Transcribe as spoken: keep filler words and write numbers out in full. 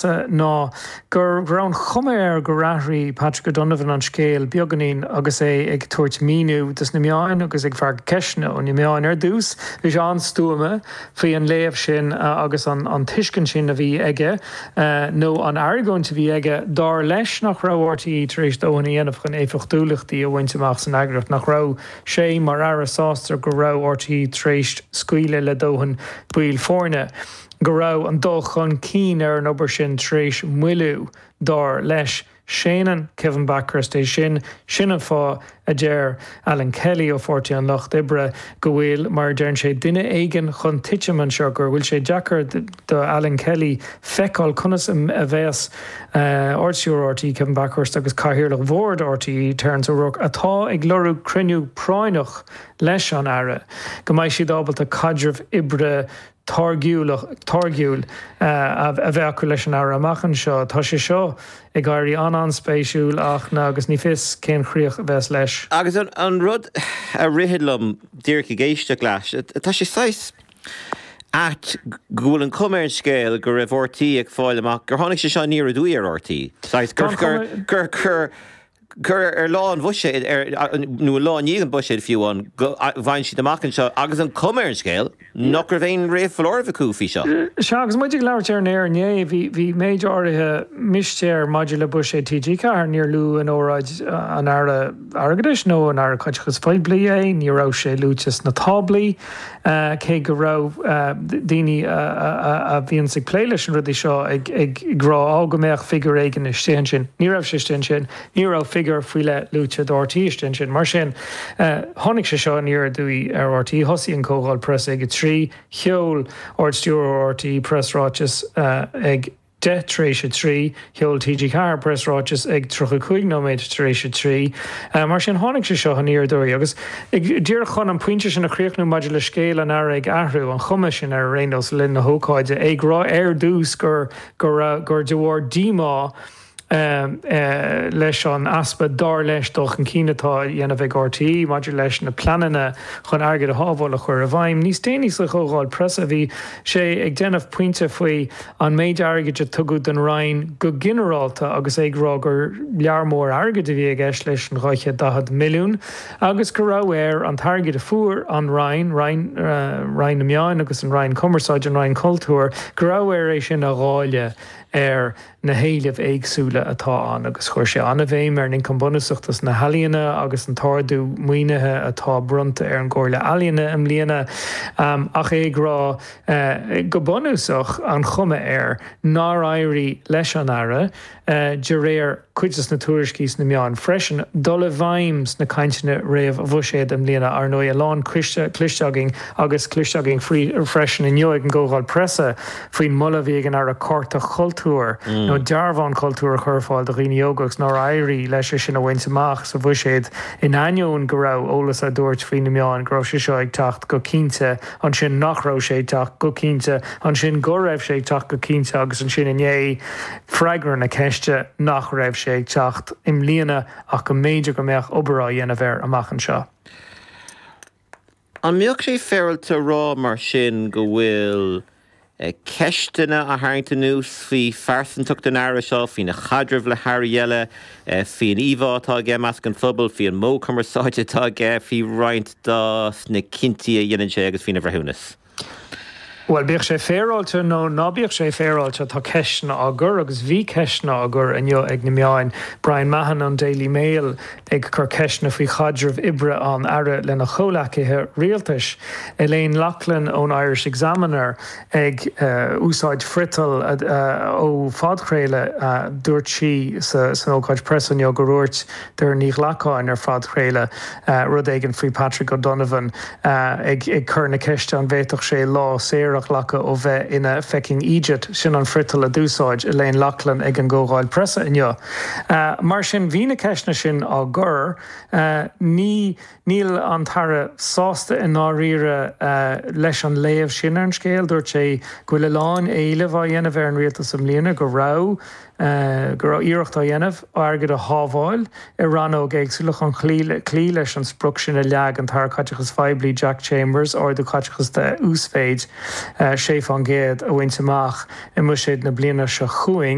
ná go raibh an chuma air gur athraigh Patrick O'Donovan an scéal beagáinín agus é ag tabhairt míniú dos na meáin agus ag freagairt ceisteanna ó na meáin. Ar dtús, bhí sé an-stuama faoi an léamh sin agus an an tuiscint sin a bhí aige nó an argóint a bhí aige dar leis nach raibh R T É tar éis dóthain a dhéanamh chun éifeachtúlachtaí a bhaint amach san eagraíocht, nach raibh sé mar aire sásta go raibh R T É tar éis scaoileadh le dóthain baill foirne, go raibh an dul chun cinn ar an obair sin tar éis moilliú, dar leis. Séanann Kevin Bakhurst é sin. Sin an fáth a deir Alan Kelly ó Pháirtí an Lucht Oibre go bhfuil, mar a deireann sé, duine éigin chun titim anseo, gur bhfuil sé deacair do Alan Kelly feiceáil conas a bheas Ardstiúrthóir R T É Kevin Bakhurst agus Cathaoirleach Bhord R T É Terence O'Rourke, atá ag lorg cruinniú práinneach leis an Aire, go mbeidh siad ábalta caidreamh oibre táirgiúil a bheith acu leis an Aire amach anseo. Tá sé seo ag éirí an-an-spéisiúil ach na agus ní fios cén chríoch a bheas leis. Agus an, an rud a rith liom díreach ag éisteacht leis, tá sé saghas ait go bhfuil an chuma ar an scéal go raibh R T É ag fáil amach gur tháinig sé seo aniar aduaidh ar R T É. Saghas gur gur gur gur gur ar lá an bhuiséid nó lá i ndiaidh an bhuiséid fiú an bhain siad amach anseo agus an chuma ar an scéal nach raibh aon réamhfholáireamh acu faoi seo. Sea, agus muid ag labhairt ar an aer inné, bhí bhí méid áirithe mistéir maidir le buiséad T G Ceathair. Níor luadh in óráid an Aire Airgeadais nó an Aire Caiteachais Phoiblí é, ní raibh sé luaite sna táblaí, cé go raibh daoine a bhíonns ag plé leis an rudaí seo ag ag rá á go mbeadh figiúr éigin istigh ansin. Ní raibh sé istigh ansin, ní raibh figiúr faoi leith luaite do R T É istigh ansin. Mar sin, tháinig sé seo aniar aduaidh ar R T É. Thosaigh an comhdháil preasa ag a trí, sheol Ardstiúrthóir R T É preasráiteas ag deich tar éis a trí, sheol T G Ceathair preasráiteas ag tríocha cúig nóiméad tar éis a trí. Mar sin, tháinig sé seo aniar aduaidh. Agus díreach chun an pointe sin a chríochnú maidir le scéal an Aire ag athrú, an chuma sin ar aon nós le linn na hócáide, é ag rá ar dtús gur gur gur de bharr díomá leis an easpa, dar leis, dul chun cinn atá á dhéanamh ag R T É maidir leis na pleananna chun airgead a shábháil a chur i bhfeidhm. Níos déanaí sa chomhdháil preasa, bhí sé ag déanamh pointe faoi an méid airgid a tugadh don Roinn go ginearálta agus é ag rá gur lear mór airgid a bhí i gceist leis an dhá chéad daichead milliún agus go raibh air an t-airgead a fuair an Roinn, Roinn, Roinn na Meán agus an Roinn Cumarsáide, an Roinn Cultúir, go raibh air é sin a dháileadh ar na héilimh éagsúla atá ann. Agus chuir sé an-bhéim ar an ioncam bunúsach dos na healaíona agus an t-ardú maoinithe atá bronnta ar an gComhairle Ealaíona i mbliana, ach é ag rá go bunúsach an chuma air nár éirigh leis an Aire, de réir cuid de na tuairiscí sna meáin freisin, dul i bhfeidhm sna cainteanna réamh-bhuiséid i mbliana. Ar ndóigh, a lán cloiste againn agus cloiste againn freisin inniu ag an gcomhdháil preasa faoin moladh a bhí ag an Aire cárta cultúir nó dearbhán cultúir a chur ar fáil do dhaoine óga agus nár éirigh leis é sin a bhaint amach sa bhuiséad, in ainneoin go raibh eolas á dtabhairt faoi na meáin go raibh sé seo ag teacht go cinnte, ansin nach raibh sé ag teacht go cinnte, ansin go raibh sé ag teacht go cinnte agus ansin inné freagra na ceiste nach raibh sé ag teacht i mbliana ach go mb'fhéidir go mbeadh obair á dhéanamh air amach anseo. An mbeadh sé féaráilte rá mar sin go bhfuil ceisteanna á tharraingt anuas faoi phearsantacht an Aire seo, faoina chaidreamh le hairí eile, faoin íomhá atá aige i measc an phobail, faoin modh cumarsáide atá aige, faoi roinnt de na cinntí a dhéanann sé agus faoina bhreithiúnas? Bhuel, bíodh sé féaráilte nó ná bíodh sé féaráilte, tá ceisteanna á gcur agus bhí ceisteanna á gcur inniu ag na meáin. Brian Mahon an Daily Mail ag cur ceisteanna faoi chaidreamh oibre an Aire lena chomhleacaithe rialtais. Elaine Loughlin ón Irish Examiner ag uh, úsáid friotal uh, ó phodchraoladh. uh, dúirt sí sa, san ócáid preasa inniu gur dhúirt Doireann Ní Ghlacáin ar phodchraoladh uh, rud éigin faoi Patrick O'Donovan uh, ag, ag cur na ceiste an bhféadfadh sé lá saor a ghlacadh ó bheith ina fucking eejit. Sin an friotal a d'úsáid Elaine Loughlin ag an gcomhdháil preasa inniu. Uh, mar sin, bhí na ceisteanna sin á gcur. uh, ní níl an tAire sásta i ndáiríre uh, leis an léamh sin ar an scéal. Dúirt sé go bhfuil a lán éileamh á dhéanamh ar an rialtas i mbliana, go raibh uh, go raibh iarracht á dhéanamh airgead a shábháil i rannóg éagsúla chun cloí leis an sprioc sin a leag an tAire Caiteachais Phoiblí Jack Chambers, ardú caiteachas de uasmhéid sé faoin gcéad a bhaint amach i mbuiséad na bliana seo chugainn.